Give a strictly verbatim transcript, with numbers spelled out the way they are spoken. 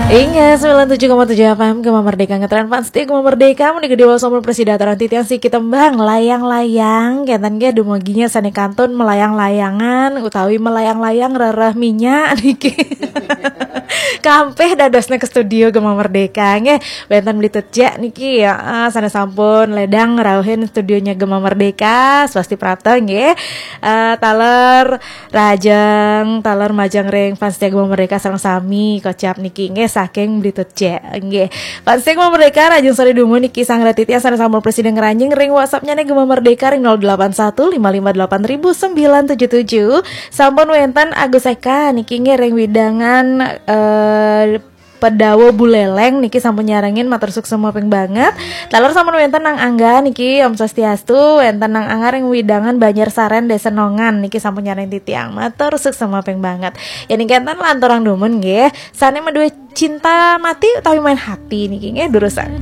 Inggih, sembilan tujuh koma tujuh F M Gema Merdeka, ngetren fans setia Gema Merdeka, menika Dewa Somon Presida Taran Titian Siki Tembang, layang-layang, kenten nggih dumugi nya sane kantun melayang-layangan, utawi melayang-layang rereh minyak niki. Kampih dadosne ke studio Gema Merdeka, nggih, wenten Beli Tecek niki, ya, eh, sane sampun ledang rauhin studionya Gema Merdeka, swasti prapta, nggih. Eh, taler Rajeng, taler majeng ring fans setia Gema Merdeka sareng sami, kocap niki nggih saking Beli Tecek nggih. Fans setia Gema Merdeka, rajeng sore dumun niki Sang Ratiti yang sareng sampun presida ngranjing ring WhatsApp-nya nih Gema Merdeka ring nol delapan satu lima lima delapan ribu sembilan tujuh tujuh. Sampun wenten Agus Eka niki nggih ring wewidangan, eh, Pedawa Buleleng niki sampun nyarengin, matur suksma ping banget. Taler sampun wenten Nang Angga niki, Om Swastiastu, wenten Nang Angga ring wewidangan Banjar Saren Desa Nongan niki sampun nyarengin titiang, matur suksma ping banget. Ya niki enten lanturang dumun nggih. Sane madue cinta mati utawi main hati niki nggih durusang.